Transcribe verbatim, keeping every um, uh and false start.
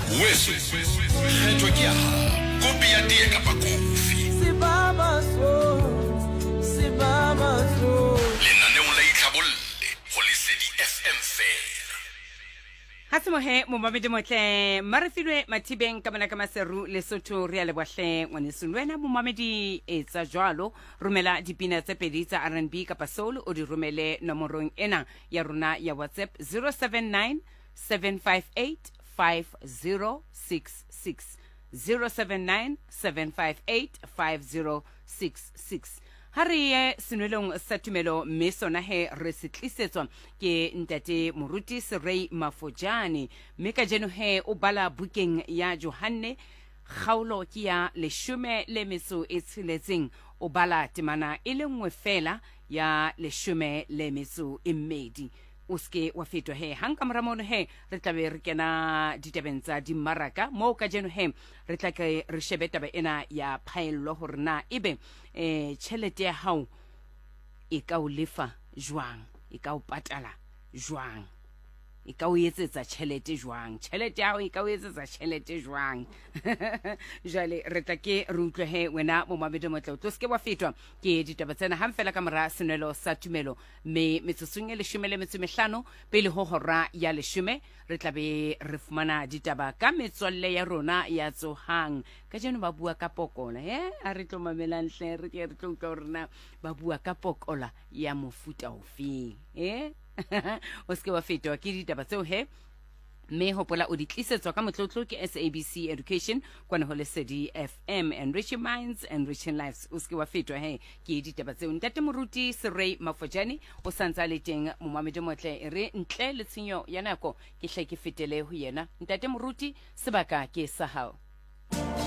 Weso, kgetho ke ya hao. Kopi ya tee kapa kofi. Lenaneong la Itlhabolle go Lesedi F M fela. Ha se mohe momamedi motle Marefilwe Mathibeng ka mona ka Maseru Lesotho re a leboha hle ngwaneso le wena momamedi etsa jwalo romela dipina tse pedi tsa R and B kapa soul o di romele nomorong ena ya rona ya WhatsApp zero seven nine seven five eight five zero six six zero seven nine seven five eight five zero six six. Ha re ye senwelong sa tumelo mme sona he re se tlisetswa ke ntate Moruti Serei Mafojane mme kajeno he o bala bukeng ya Johanne kgaolo ke ya leshome le metso e tsheletseng o bala temana e le nngwe fela ya leshome le metso e mmedi. O seke wa fetwa he hang ka mora mono he re tla be re kena ditabeng tsa dimmaraka moo kajeno he re tla ke re shebe taba ena ya phaello hore na ebe eh tjhelete ya hao e ka o lefa jwang, e ka o patala jwang, e ka o etsetsa tjhelete jwang, tjhelete ya hao e ka o etsetsa tjhelete jwang. Jwale re tla ke re utlwe he wena momamedi motle o tlo seke wa fetwa ke ditaba tsena hang fela ka mora senwelo sa tumelo mme metsotsong e leshome le metso e mehlano pele ho hora ya leshome re tla be re fumana ditaba ka metswalle ya rona ya Tsohang. Kajeno ba bua ka pokola eh a re tlo mamelang hle re ke re tlo utlwa hore na ba bua ka pokola ya mofuta ofeng eh o seke wa fetwa ke ditaba tseo he mme hopola o di tlisetswa ka motlotlo ke S A B C Education kwana ho Lesedi F M, enriching minds, enriching lives. O seke wa fetwa he ke ditaba tseo. Ntate Moruti Serei Mafojane o santse a le teng momamedi motle e re ntle le tshenyo ya nako ke hle ke fetele ho yena. Ntate Moruti sebaka ke sa hao.